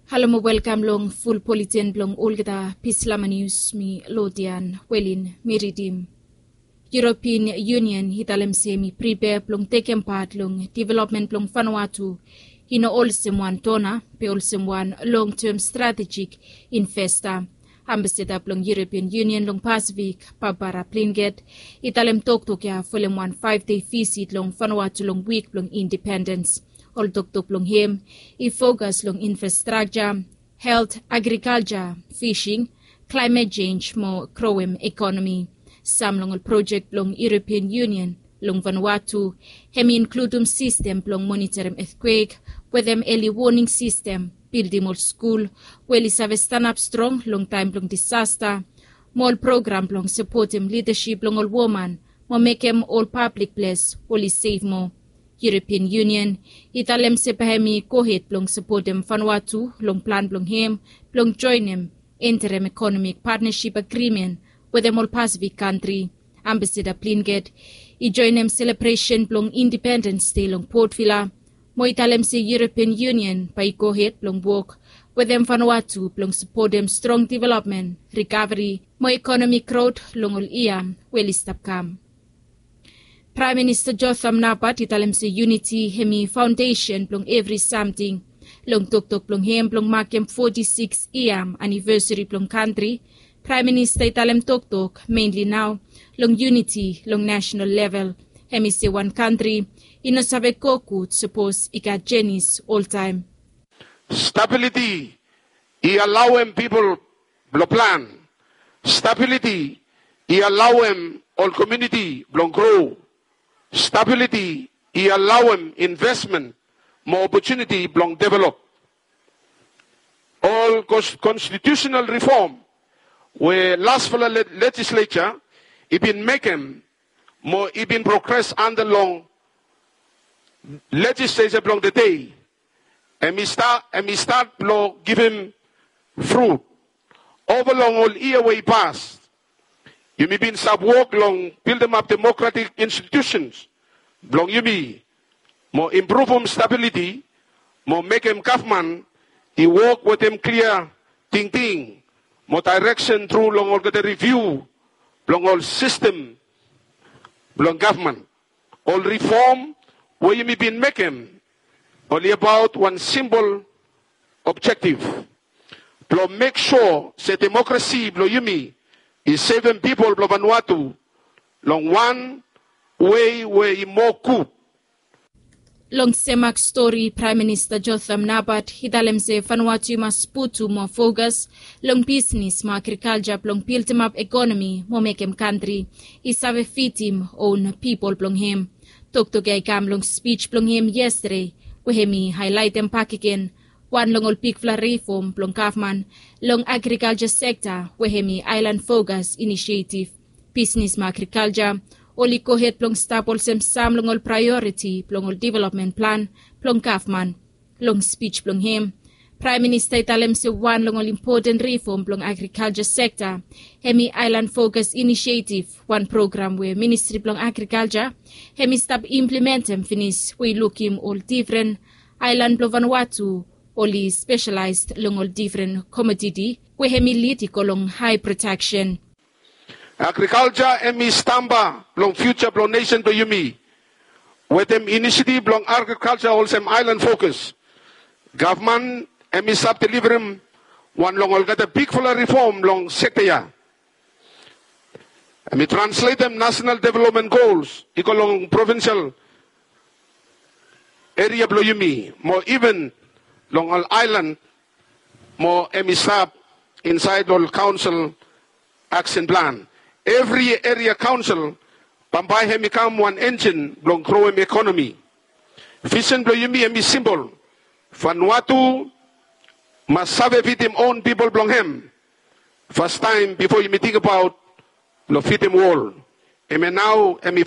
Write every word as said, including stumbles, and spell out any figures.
Halo mo welkam long ful politen blong olgeta Pislama Nius. Mi Lodian Welin mi ridim. European Union i talem se mi pripea blong tekem pat long developmen blong Vanuatu i no olsem wan dona be olsem wan long-tem stratejik investa. Ambasada blong European Union long Pasifik, Barbara Blinket, i talem toktok ya folem wan faef dei visit long Vanuatu long wik blong indipendens. Ol toktok blong hem i fokas long infrastrakja, helt, agrikalja, fising, klaemet jenj mo growem ekonomi. Sam long ol projek blong European Union long Vanuatu hem i inkludum sistem blong monitorim etkwek wetem eli woning sistem, bildim ol skul we oli save stanap strong long taem blong disasta, mo ol program blong sapotem lidasip blong ol woman mo mekem ol pablik ples oli sef moa. European Union i talem se bae hem i gohed blong sapotem Vanuatu long plan blong hem blong joenem Interim Economic Partnership Agreement wetem ol Pasifik kantri. Ambasada Blinket i joenem selebresen blong Indipendens Dei long Port Vila mo i talem se European Union bae i gohed blong wok wetem Vanuatu blong sapotem strong developmen, rikaveri mo ekonomik grot long ol yia we oli stap kam. Praem Minista Jotham Napat i talem se yuniti hem i faondesen blong evri samting. Long toktok blong hem blong makem foti sikis yia anivesari blong kantri, Praem Minista i talem toktok menli nao long yuniti long nasonal level. Hem i se wan kantri i no save go gud sapos i gat jenis oltaem. Stabiliti i alaoem pipol blong plan. Stabiliti i alaoem ol komuniti blong gro. Stabiliti i alaoem investmen mo opotuniti blong develop. Ol kons-, konstitiusenal rifom we lasfala le-, lejisleja i bin mekem mo i bin progres anda long lejisleja blong tede, hem i sta-, hem i stat blong givim frut. Ova long ol yia we i pas, yumi bin stap wok long bildimap demokratik institusens blong yumi mo impruvum stabiliti mo mekem gavman i wok wetem klia tingting mo daereksen tru long olgeta riviu blong ol sistem blong gavman. Ol rifom we yumi bin mekem oli abaot wan simpol objektif blong mek sua se demokrasi blong yumi i sevem pipol blong Vanuatu long wan wei we i moa gud. Long sem mak stori, Praem Minista Jotham Napat i talem se Vanuatu i mas putum moa fokas long bisnis mo agrikalja blong bildimap ekonomi mo mekem kantri i save fidim own pipol blong hem. Toktok ya i kam long spij blong hem yestade we hem i haelaetem bakegen wan long ol bigfala rifom blong gavman long agrikalja sekta we hem i Aelan Fokas Inisietif. Bisnis mo agrikalja oli gohed blong stap olsem sam long ol praeoriti blong ol developmen plan blong gavman. Long spij blong hem, Praem Minista i talem se wan long ol impoten rifom blong agrikalja sekta hem i Aelan Fokas Inisietif, wan program we Ministri blong Agrikalja hem i stap implementem finis we i lukim ol defren aelan blong Vanuatu oli spesalaes long ol defren komoditi we hem i lid i go long hae prodaksen. Agrikalja hem i stamba blong fiuja blong nesen blong yumi. Wetem inisiativ blong agrikalja olsem Aelan Fokas, gavman hem i stap deliverem wan long olgeta bigfala rifom long sekta ya. Hem i transletem nasonal developmen gols i go long provinsel eria blong yumi mo iven long ol aelan mo hem i stap insaed long ol kaonsel aksen plan. Evri eria kaonsel bambae hem i kam wan enjin blong growem ekonomi. Visen blong yumi hem i simpol. Vanuatu mas save fidim own pipol blong hem fastaem bifo yumi tingbaot blong fidim wol. Hemia nao hem i